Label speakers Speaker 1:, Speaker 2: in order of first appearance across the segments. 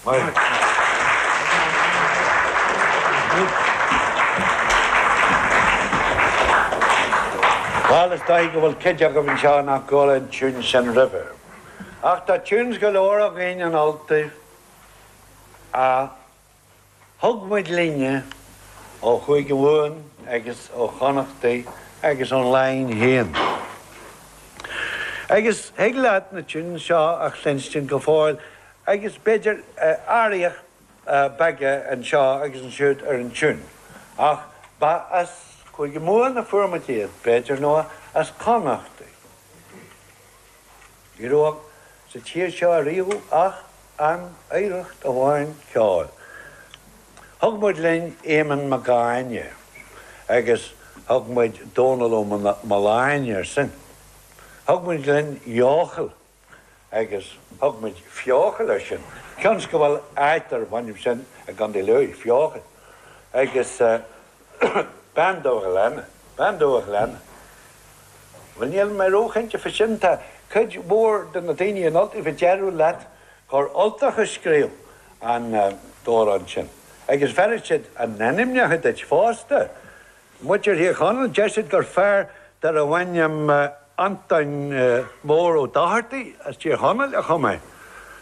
Speaker 1: Maith. Bhuel, is dóigh go bhfuil cuid agaibh anseo nach gcuala an tiún sin roimhe. Ach tá tunes go leor againn in Ultaibh a thug muid linne ó Chúige Mumhan agus ó Chonnachtaí agus ón Laighin féin. Agus thig leat na tunes seo a chluinstin go fóill agus b'fhéidir athruithe beaga anseo agus ansiúd ar an tiún, ach ba as Cúige Mumhan a fuair muid iad, b'fhéidir, nó as Connachtaí. Ní raibh sa tír seo ariamh ach an oidhreacht amháin ceoil. Thug muid linn Éamonn Mac Áine agus thug muid Dónal Ó Mealláin air sin. Thug muid linn Eochaill agus thug muid Feochaill air sin. Cionn 's go bhfuil áit darb ainm sin i gContae Lú, Feochaill. Agus Bean Dubh Ghleanna, Bean Dubh Ghleanna. Bhuel, níl mé róchinnte fá sin. Tá cuid mhór de na daoine in Ultaibh a déarfadh leat gur Ultach a scríobh an t-amhrán sin. Agus bhéarfadh siad a n-ainmneacha duit fosta. Muintir Thír Chonaill, deir siad gur fear darbh ainm Antoin Mór Ó Dochartaigh as Tír Chonaill a chum é.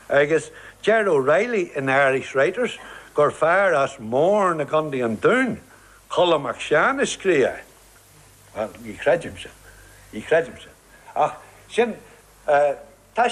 Speaker 1: Agus deir O'Reilly in Irish Writers gur fear as Mourne i gContae an Dúin, Colm Mac Seáin a scríobh é. Bhuel, ní chreidim sin. Ní chreidim sin. Ach sin.